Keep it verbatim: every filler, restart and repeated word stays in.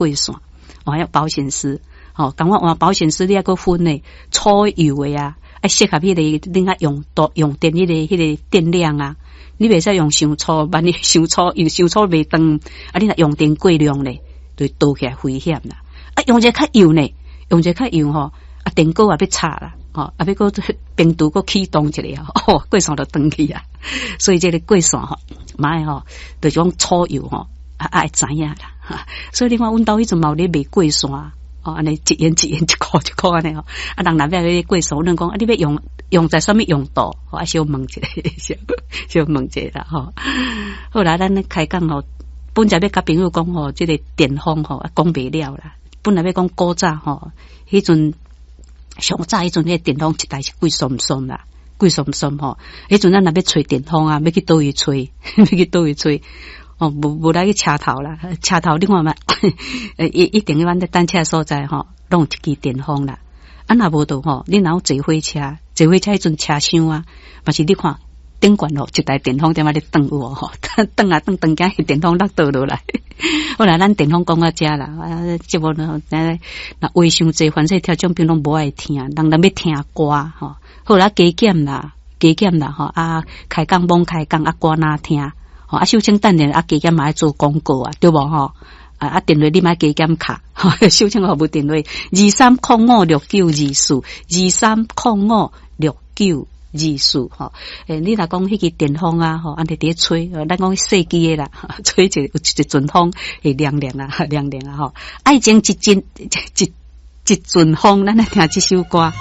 過線，哦，還有保險絲，吼，共款換保險絲，你抑閣分呢，粗幼的啊，愛適合彼個恁愛用多用電彼個彼個電量啊，你袂使用傷粗，萬一傷粗，因為傷粗袂斷，啊，你若用電過量咧，就會導起來危險啦。啊，用一個較幼呢，用一個較幼吼，啊，電鍋也欲插啦，吼，啊，欲閣冰櫥閣啟動一下，哦，過線就斷去啊。所以這個過線吼，嘛愛吼，就是講粗幼吼，啊，愛知影啦。所以你看，阮兜彼陣嘛有咧賣過線，哦，按呢一元一元一箍一箍按呢吼。啊，人若欲來過線，阮講啊，你欲用用在啥物用途？啊，小問一下，小小問一下啦吼。好啦，咱開講吼，本來欲共朋友講吼，這個電風吼，講袂了啦。本來欲講古早吼，彼陣上早彼陣，彼個電風一台是貴倏倏啦，貴倏倏吼。彼陣咱若欲吹電風啊，欲去佗位吹，欲去佗位吹。哦，無無來去車頭啦，車頭你看覓，一一定阮咧等車所在吼，攏有一支電風啦。啊，若無就吼，你若有坐火車，坐火車彼陣車廂啊，嘛是你看頂懸吼，一台電風踮遐咧轉有無吼？轉啊轉，轉驚電風落倒落來。好啦，咱電風講到遮啦，啊，節目呢，若話傷濟，反正聽眾朋友攏無愛聽，人人欲聽歌吼。好啦，加減啦，加減啦吼，啊，開講罔開講啊，歌哪聽？啊，秀清等下啊，加減嘛愛做廣告啊，對無吼？啊啊，電話你嘛愛加減敲，秀清服務電話二三空五六九二四，二三空五六九二四吼。欸，你若講彼支電風啊，吼，按呢佇咧吹，咱講細支的啦，吹一個一陣風會涼涼啊，涼涼啊，吼。愛情一陣一一陣風，咱來聽這首歌。